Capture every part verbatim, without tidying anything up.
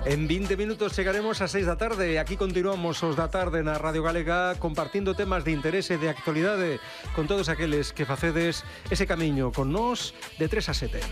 En vinte minutos chegaremos a seis da tarde. Aquí continuamos os da tarde na Radio Galega compartindo temas de interese e de actualidade con todos aqueles que facedes ese camiño con nós de tres a sete.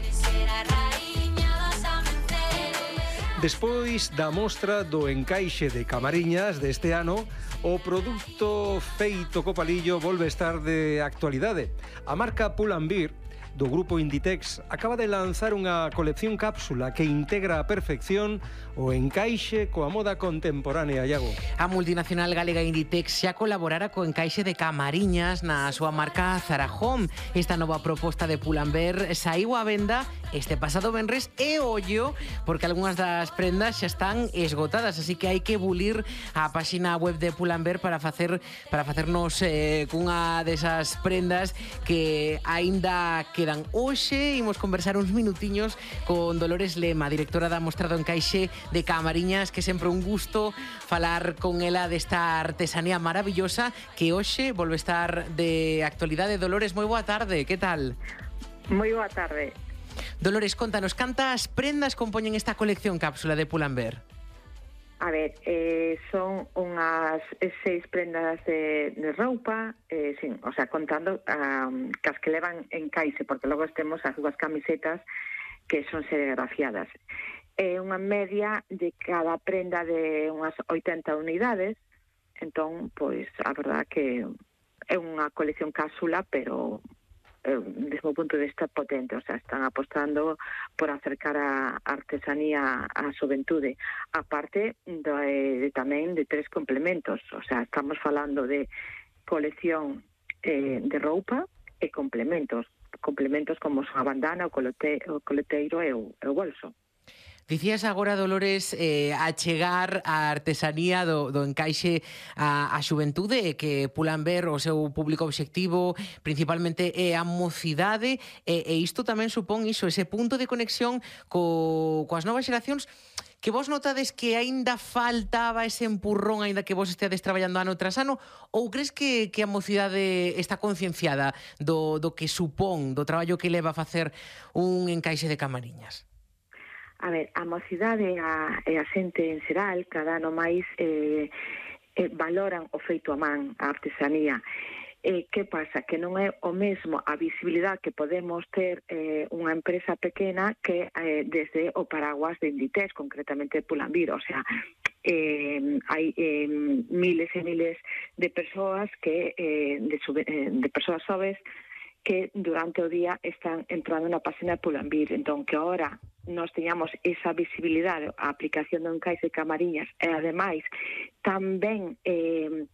Despois da mostra do encaixe de Camariñas deste ano, o produto feito co palillo volve a estar de actualidade. A marca Pull&Bear do grupo Inditex acaba de lanzar unha colección cápsula que integra a perfección o encaixe coa moda contemporánea, Iago. A multinacional galega Inditex xa colaborara co encaixe de Camariñas na súa marca Zara Home. Esta nova proposta de Pull&Bear saiu á venda este pasado venres e ollo, porque algunhas das prendas xa están esgotadas, así que hai que bulir a páxina web de Pull&Bear para facer para facernos eh, cunha desas prendas que aínda quedan. Hoxe imos conversar uns minutiños con Dolores Lema, directora da Mostra do Encaixe de Camariñas, que sempre un gusto falar con ela desta artesanía maravillosa que hoxe volve a estar de actualidade. Dolores, moi boa tarde, que tal? Moi boa tarde. Dolores, contanos, cantas prendas compoñen esta colección cápsula de Pull&Bear? A ver, eh, son unhas seis prendas de, de roupa, eh, sin, o sea, contando um, cas que levan encaixe, porque logo temos as dúas camisetas que son serigrafiadas. É eh, unha media de cada prenda de unhas oitenta unidades, entón, pois, a verdad que é unha colección cápsula, pero desde o punto de vista potente, o sea, están apostando por acercar a artesanía á xuventude, aparte de, de tamén de tres complementos, o sea, estamos falando de colección eh, de roupa e complementos, complementos como a bandana, o, colote, o coleteiro e o, e o bolso. Dicías agora, Dolores, eh, a chegar a artesanía do, do encaixe a, a xuventude e que Pull&Bear o seu público obxectivo principalmente é a mocidade e, e isto tamén supón iso, ese punto de conexión co, coas novas xeracións que vos notades que aínda faltaba ese empurrón aínda que vos esteades traballando ano tras ano, ou crees que, que a mocidade está concienciada do, do que supón, do traballo que leva a facer un encaixe de Camariñas? A ver, a mocidade e a, e a xente en xeral cada ano máis eh, eh, valoran o feito a man, a artesanía. Eh, que pasa? Que non é o mesmo a visibilidade que podemos ter eh, unha empresa pequena que eh, desde o paraguas de Inditex, concretamente Pull&Bear, o sea, eh, hai eh, miles e miles de persoas que eh, de, sube, eh, de persoas xoves que durante o día están entrando na página de Pull&Bear. Entón, que agora nós teñamos esa visibilidade, a aplicación do encaixe de Camariñas e, ademais, tamén eh,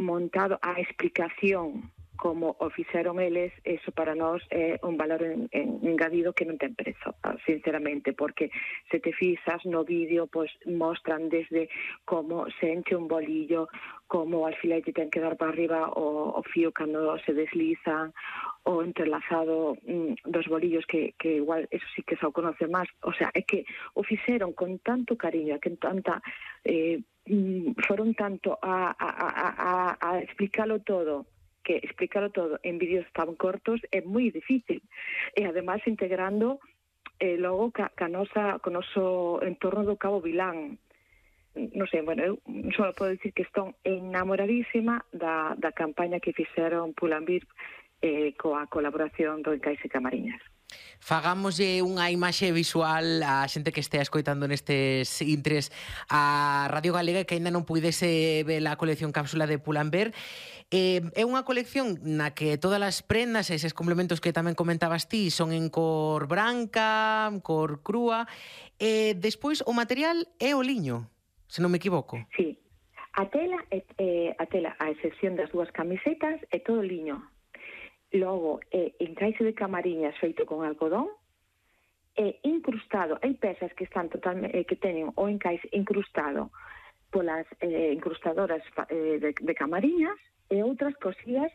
montado a explicación como o fixeron eles, eso para nós é un valor en, en, engadido que non ten prezo, sinceramente, porque se te fixas no vídeo, pois mostran desde como se enche un bolillo, como o alfilete ten que dar para arriba o, o fío cando se deslizan, o entrelazado mm, dos bolillos que, que igual, eso sí que xa o conoce máis, o sea, é que o fixeron con tanto cariño, que tanta eh, foron tanto a, a, a, a, a explicarlo todo, que explicarlo todo en vídeos tan cortos é moi difícil, e ademais integrando eh, logo ca, ca nosa, co noso entorno do Cabo Vilán. Non sei, bueno, eu só podo dicir que estou enamoradísima da, da campaña que fixeron Pull&Bear eh, coa colaboración do encaixe Camariñas. Fagámoslle unha imaxe visual á xente que estea escoitando nestes intres a Radio Galega que aínda non puidese ver a colección cápsula de Pull&Bear. Eh, é unha colección na que todas as prendas e eses complementos que tamén comentabas ti son en cor branca, cor crúa, e despois o material é o liño, se non me equivoco. Sí, a tela, eh, a tela, a excepción das dúas camisetas, é todo liño. Logo, é encaixe de Camariñas feito con algodón, e incrustado, hai pezas que están totalmente, eh, que teñen o encaixe incrustado polas eh, incrustadoras eh, de, de Camariñas, e outras cosidas,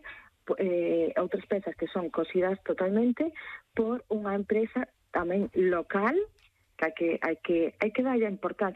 eh, outras pezas que son cosidas totalmente por unha empresa tamén local, que hai que, hai que, hai que darlle a importancia